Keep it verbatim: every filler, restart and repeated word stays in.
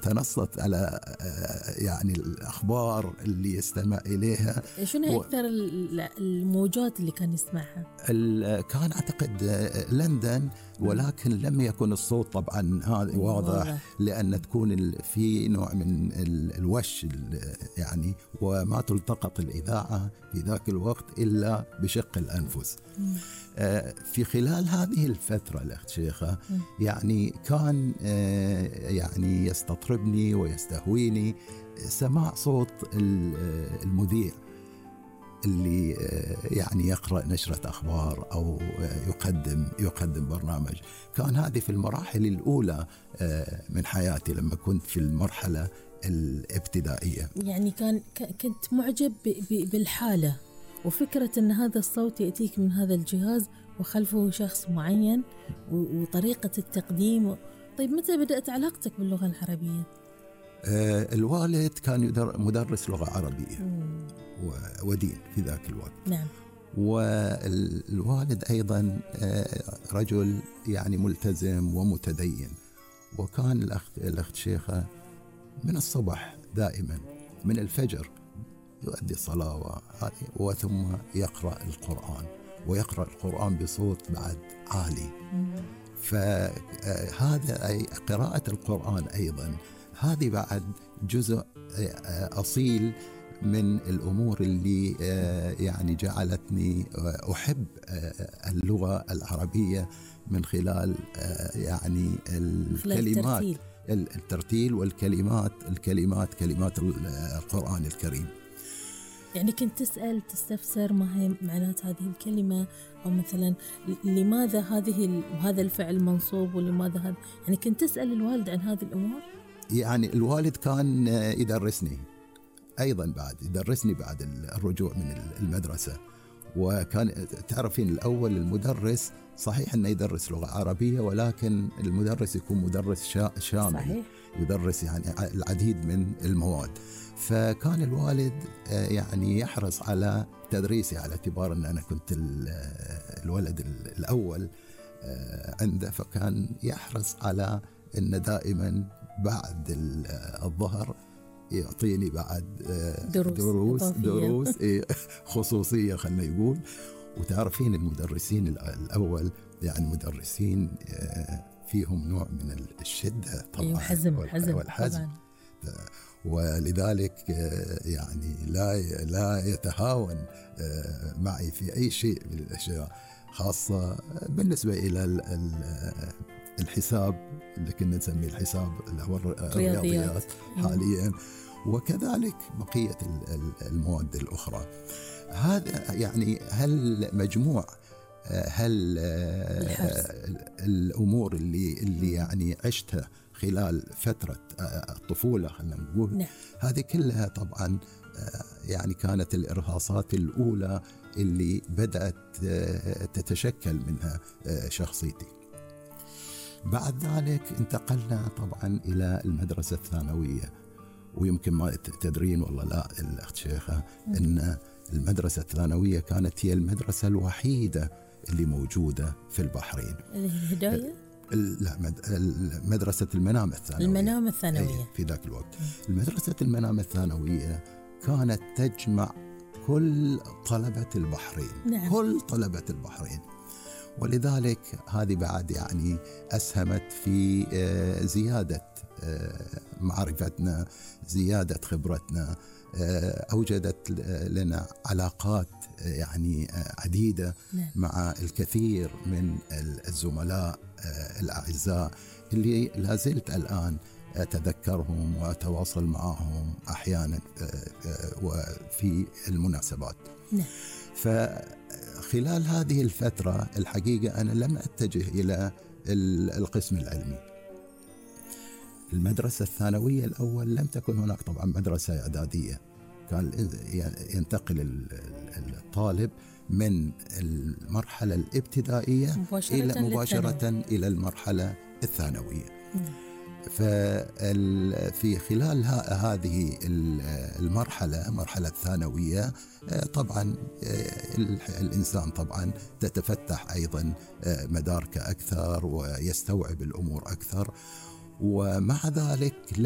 تنصت على يعني الأخبار اللي يستمع إليها. شنو هي أكثر الموجات اللي كان يسمعها؟ كان أعتقد لندن، ولكن لم يكن الصوت طبعا هذا واضح، لأن تكون في نوع من الوش يعني، وما تلتقط الإذاعة في ذاك الوقت إلا بشق الأنفس. في خلال هذه الفترة الأخت شيخة يعني كان يعني يستطربني ويستهويني سماع صوت المذيع اللي يعني يقرأ نشرة أخبار أو يقدم يقدم برنامج. كان هذه في المراحل الأولى من حياتي لما كنت في المرحلة الابتدائية. يعني كان كنت معجب بالحالة وفكرة أن هذا الصوت يأتيك من هذا الجهاز وخلفه شخص معين وطريقة التقديم. طيب متى بدأت علاقتك باللغة العربية؟ آه الوالد كان مدرس لغة عربية ودين في ذاك الوقت. نعم. والوالد أيضا آه رجل يعني ملتزم ومتدين، وكان الأخت, الأخت شيخة من الصبح دائما من الفجر يؤدي الصلاة وثم يقرأ القرآن، ويقرأ القرآن بصوت بعد عالي. فهذا أي قراءة القرآن أيضا هذه بعد جزء أصيل من الأمور اللي يعني جعلتني أحب اللغة العربية من خلال يعني الكلمات، الترتيل والكلمات الكلمات كلمات القرآن الكريم. يعني كنت تسأل تستفسر ما هي معنات هذه الكلمة، أو مثلا لماذا هذه هذا الفعل منصوب ولماذا هذا، يعني كنت تسأل الوالد عن هذه الأمور؟ يعني الوالد كان يدرسني أيضا بعد يدرسني بعد الرجوع من المدرسة. وكان تعرفين الأول المدرس صحيح أنه يدرس لغة عربية، ولكن المدرس يكون مدرس شامل صحيح. يدرس يعني العديد من المواد. فكان الوالد يعني يحرص على تدريسي على اعتبار أن أنا كنت الولد الأول عنده، فكان يحرص على أن دائما بعد الظهر يعطيني بعد دروس دروس, دروس خصوصية خلنا يقول. وتعرفين المدرسين الأول يعني مدرسين فيهم نوع من الشدة طبعا وحزم والحزم، ولذلك يعني لا لا يتهاون معي في أي شيء من الأشياء، خاصة بالنسبة إلى الحساب اللي كنا نسميه الحساب اللي هو الرياضيات حاليا، وكذلك بقية المواد الأخرى. هذا يعني هل مجموع هل الأمور اللي اللي يعني عشتها خلال فترة الطفولة خلينا نقول نعم. هذه كلها طبعا يعني كانت الإرهاصات الأولى اللي بدأت تتشكل منها شخصيتي. بعد ذلك انتقلنا طبعا إلى المدرسة الثانوية، ويمكن ما تدرين والله لا الأخت شيخة أن المدرسة الثانوية كانت هي المدرسة الوحيدة اللي موجودة في البحرين. الهداية؟ لا مدرسة المنام الثانوية. المنام الثانوية في ذاك الوقت. المدرسة المنام الثانوية كانت تجمع كل طلبة البحرين. نعم. كل طلبة البحرين، ولذلك هذه بعد يعني أسهمت في زيادة معرفتنا، زيادة خبرتنا، أوجدت لنا علاقات يعني عديدة نعم. مع الكثير من الزملاء الأعزاء اللي لازلت الآن أتذكرهم وأتواصل معهم أحيانا وفي المناسبات. نعم. فخلال هذه الفترة الحقيقة أنا لم أتجه إلى القسم العلمي. المدرسة الثانوية الأول لم تكن هناك طبعا مدرسة إعدادية، كان ينتقل الطالب من المرحلة الابتدائية مباشرة إلى مباشرة إلى المرحلة الثانوية. ففي خلال هذه المرحلة مرحلة الثانوية طبعا الإنسان طبعا تتفتح أيضا مداركه أكثر ويستوعب الأمور أكثر، ومع ذلك